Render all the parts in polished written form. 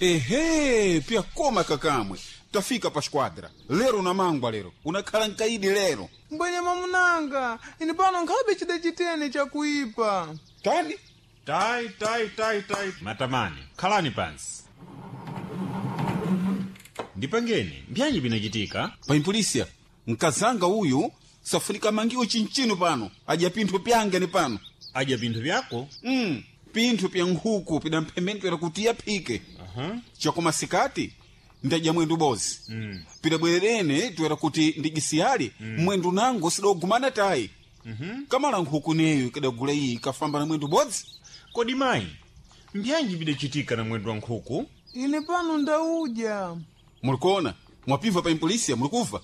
Ehe, pyakoma kakamwe. Tafika pa squadra. Lero unamangwa lero. Unakhala nkaidi lero. Mbwenye mamunanga, ine pano nkhabe chida chitene chakuipa. Tani? Tai, tai, tai, tai. Matamani, khalani pansi. Ndipangeni, mbyanyi binachitika? Paimpolisia, mkazanga uyu safunika mangiwo chinchino pano. Adya pinthu pyange ni pano. Adya pinthu vyako? Pinthu pya nkhuku pidamphemeni pera kuti yaphike. Chakoma sikati ndadya mwendu bozi. Pidabwererene toera kuti ndijisiyali mwendu nango sidogumana tayi. Kamala nkhuku neyo ikadagula iyi ikafamba na mwendu bodzi. Kodi mayi, mbyanji bidachitika na mwendo wa nkhuku? Ine pano ndaudya. Mulikuona? Mwapimva pa impolisia mulikuva?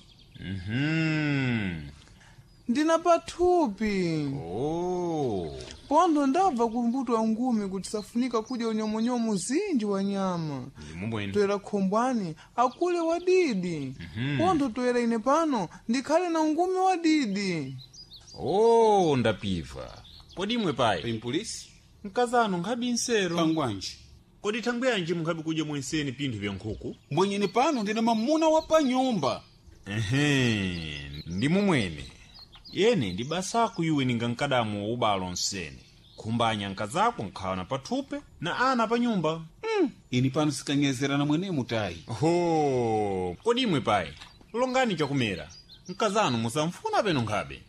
Ndina pathupi. Oh. Pontho ndabva kumbuto wa ngumi kuti safunika kudya unyomonyomo zinji wa nyama. Ndimubwene. Toera khombwani akule wadidi. Pontho toera ine pano ndikhale na ungumi wadidi. Oh, ndapiva. Kodi imwe payi, Paimpolisi? mkazanu nkhabi nsero. Pangwanji. Kodi thangwi yanji munkhabi kudya mwenseni pinthu vya nkhuku? Mbwenyeni pano ndine mamuna wa panyumba. Ehe, ndi mumwene. Yene ndi basako iwe ninga mkadamu wa ubalo nsene. Khumbanya nkazako nkhala na pathupe na ana pa nyumba. Ini pano sikanyezerana mwenemu tayi. Ho, kodi imwe payi, longani chakumera. Mkazanu musamfuna peno nkhabe.